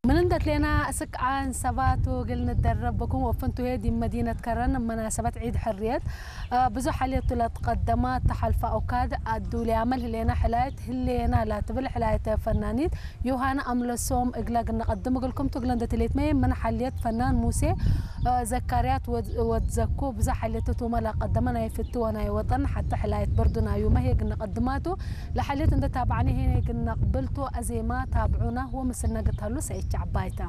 من عند لنا سكعان سباتو قلنا الدرب بكم وفنتو هيدي مدينة كرن مناسبة عيد حرية. ብዙሕ ሓልየቱ ላትቐደማ ተሓልፋ ኦካድ ኣዱልያ መልህሌና ሕላየት ህሌና ላትብል ሕላየት ፈናኒት ዮሃና ኣምለሶም እግላ ግነቐድም እግልኩም ትግለ እንደትሌት መየ ምን ሓልየት ፈናን ሙሴ ዘካርያት ወድዘኩ ብዙሕ ሓልየቱ ቱመላ ቀደመ ናይ ፍትወ ናይ ወጠን ሓቲ ሕላየት በርዱና ዩ መሄ ግነቐድማቱ ለሓልየት እንደታባዕኒ ሄነ ግነቕብልቱ ኣዜማ ታብዑና ወምስልና ግታሉ ሰይቻ ዓባይታ